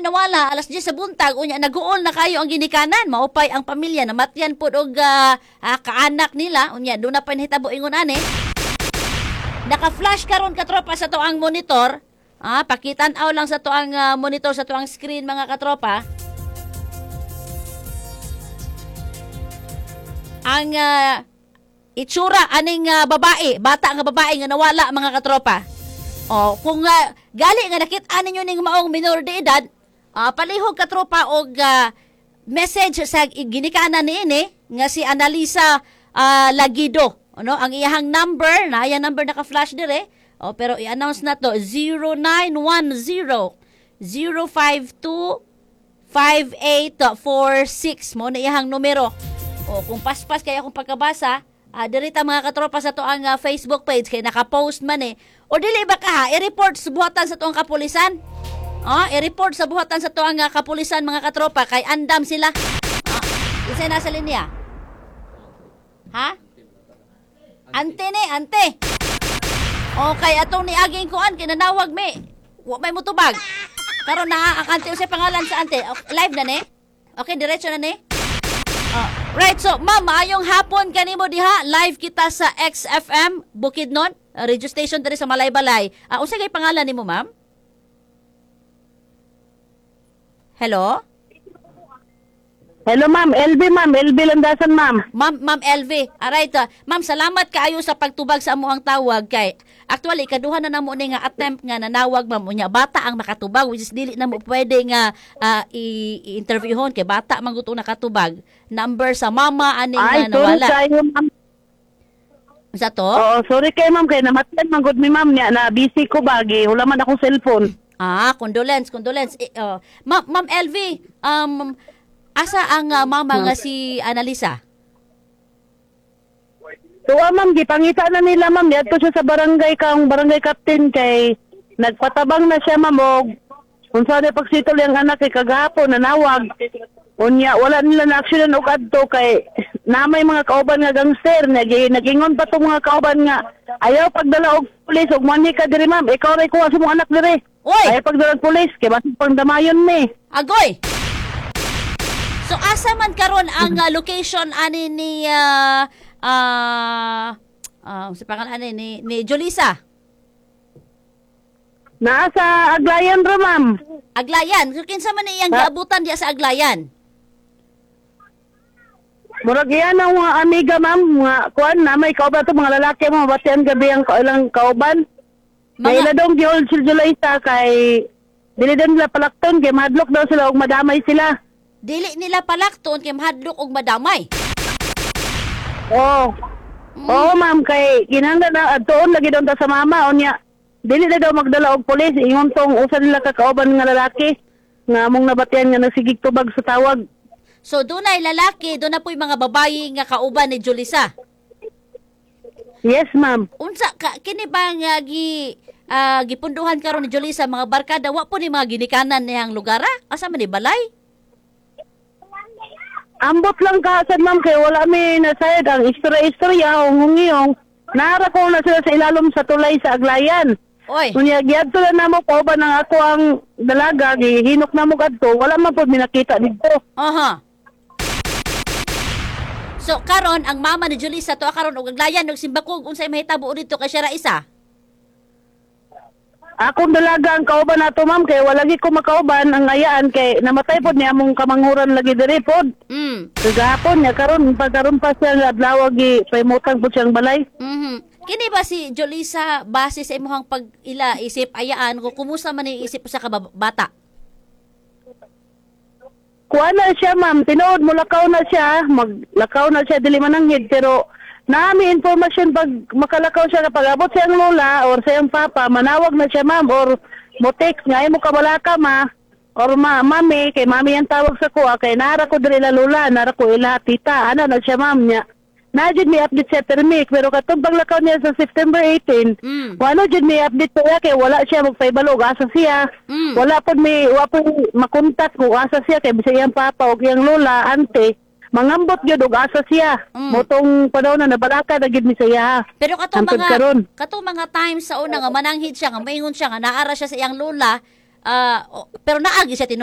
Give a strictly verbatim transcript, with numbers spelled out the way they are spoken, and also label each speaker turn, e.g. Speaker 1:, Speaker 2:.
Speaker 1: nawala alas diyes sa buntag, unya naguol na kayo ang ginikanan, maupay ang pamilya namatyan pod og ah, ah, kaanak nila, unya doon na pa nahitabo ingon ani. Naka-flash karon, katropa, sa to ang monitor. Ah, pakitan-aw lang sa to ang ah, monitor, sa to ang screen, mga katropa. Ang ah, itsura aning ah, babae, bata nga babae nga nawala, mga katropa. Oh, kung ah, gali nga nakit-an ninyo ning maong minor de edad, ah, palihog, katropa, og ah, message sa ginikanan niini nga si Analisa ah, Lagido. Ano, ang iyahang number, na iyang number naka-flash dire. Oh, pero i-announce na to, zero nine one zero zero five two five eight four six mo na iyahang numero. O kung paspas kaya akong pagkabasa, ah, diri ta, mga katropa, sa to ang ah, Facebook page kay naka-post man eh. O dili ba ka ha, i-report sa buhatan sa tuang kapulisan. Ah, i-report sa buhatan sa tuang ah, kapulisan, mga katropa, kay andam sila. Ah, isa nasa linya. Ha? Ante ni, ante. Okay, atong niaging kuan kinanawag mi. Wa may mutubag. Karon na ang ante, unsay pangalan sa ante? Okay, live na ni? Okay, diretso na ni? Ah, right, so ma'am, maayong hapon kanimo diha. Live kita sa X F M Bukidnon, uh, radio station diri sa Malaybalay. Uh, unsa kay pangalan nimo, ma'am? Hello?
Speaker 2: Hello, ma'am, L B ma'am, L B Landasan, ma'am.
Speaker 1: Ma'am, Ma'am L V. Alright, ah, ma'am, salamat kaayo sa pagtubag sa amoang tawag kay actually kaduha na namo ni nga attempt nga nanawag, ma'am, unya bata ang makatubag, which is dili na mo pwede nga ah, i- i-interviewhon kay bata man gud nakatubag. Number sa mama aning
Speaker 2: Ay,
Speaker 1: nga
Speaker 2: sorry
Speaker 1: nawala.
Speaker 2: kayo, ma'am.
Speaker 1: Sa to?
Speaker 2: Oo, sorry kayo, ma'am, kay namatayan man gud mi, ma'am, niya na busy ko bagi, wala man akong cellphone.
Speaker 1: Ah, condolence, condolence. Eh, oh. Ma'am, Ma'am L V, um asa ang ah, mama nga si Annalisa?
Speaker 2: So, ah, ma'am, gipangita na nila, ma'am, niadto siya sa barangay kang barangay captain kay nagpatabang na siya, ma'am, og unsa na pagsitol yung anak kay kagahapon nanawag. Unya wala nila na aksyonan og adto kay na may mga kauban nga gangster, nag nagingon pa tong mga kauban nga ayaw pagdala og pulis og money ka diri, ma'am, ikaw ray kuha sa mong anak diri.
Speaker 1: Oy!
Speaker 2: Ayaw pagdala og pulis kay basig pang damayon mi.
Speaker 1: Agoy! So asa man karon ang ah, location ani ni ah ah ah, sa pangalan ani ni ni Jolisa?
Speaker 2: Naa sa Aglayan ra, ma'am.
Speaker 1: Aglayan. So kinsa man iyang
Speaker 2: Ha?
Speaker 1: giabutan diya sa Aglayan?
Speaker 2: Murag iyan ang mga amiga, ma'am, mga kuan na may kauban to mga lalaki mo batian gabi ang ilang kauban.
Speaker 1: Mga
Speaker 2: Mga ila dong gihold sila Julaysa kay dili daw nila palakton kay mahadlok daw sila og madamay sila.
Speaker 1: Dili nila palakton kay mahadlok og madamay.
Speaker 2: Oo. Oo, ma'am, kay kinahanglan na adtoon lagi daw ta sa mama, unya dili na daw magdala og pulis, ingon tong usa nila ka kauban nga lalaki nga among nabatian nga nagsigig tubag sa tawag.
Speaker 1: So dunay lalaki, doon na po'y mga babayi nga kauban ni Julissa.
Speaker 2: Yes, ma'am.
Speaker 1: Unsa ka kini ba nga gi ah, gipunduhan karon ni Julissa mga barkada, wa po ni mga ginikanan niyang lugar, ah? Asa man ni balay?
Speaker 2: Ambot lang kaasad, ma'am, kay wala mi nasayad ang istorya-istorya o ngungiyong. Nara ko na sila sa ilalom sa tulay sa Aglayan.
Speaker 1: Oy,
Speaker 2: Unya giadto na namo kauban ang ako ang dalaga, gihinok namo kadto, wala man pud mi nakita didto.
Speaker 1: Aha. So karon ang mama ni Julissa to karon og Aglayan og simbakog unsay mahitabo dito kay siya ra isa.
Speaker 2: Akong dalaga ang kauban nato, ma'am, kay wala gi ko makauban ang ayaan kay namatay pod niya among kamanghuran lagi diri pod.
Speaker 1: Mm.
Speaker 2: Kagahapon niya karon pagkaron pa siya nga adlaw gi paimutang pod siyang balay.
Speaker 1: Mhm. Kini ba si Jolisa, base sa imong pag-ila isip ayaan ko, kumusta man ni isip sa kabata?
Speaker 2: Kuha na siya, ma'am, tinuod mo lakaw na siya, maglakaw na siya dili mananghid, pero naami information pag makalakaw siya, kapag abot siyang lola or siyang papa, manawag na siya, ma'am, or mo text nga ay mo kabalaka ma or ma mami, kay mami ang tawag sa kuha kay nara ko diri ila lola, nara ko ila tita, ana na siya, ma'am. Niya na jud may update siya permik, pero katong paglakaw niya sa September eighteen,
Speaker 1: Mm.
Speaker 2: wala jud may update siya kay wala siya magpaibalo og asa siya.
Speaker 1: Mm.
Speaker 2: Wala pod may wa pod makontak kung asa siya kay bisag iyang papa o iyang lola, ante, mangambot gyud og asa siya.
Speaker 1: Mm.
Speaker 2: Motong panahon na nabalaka na gyud mi sa iya.
Speaker 1: Pero katong
Speaker 2: Hangtod
Speaker 1: mga
Speaker 2: karon.
Speaker 1: Katong mga times sa una nga mananghid siya, nga maingon siya nga naara siya sa iyang lola, ah, o- pero naagi siya tinuod.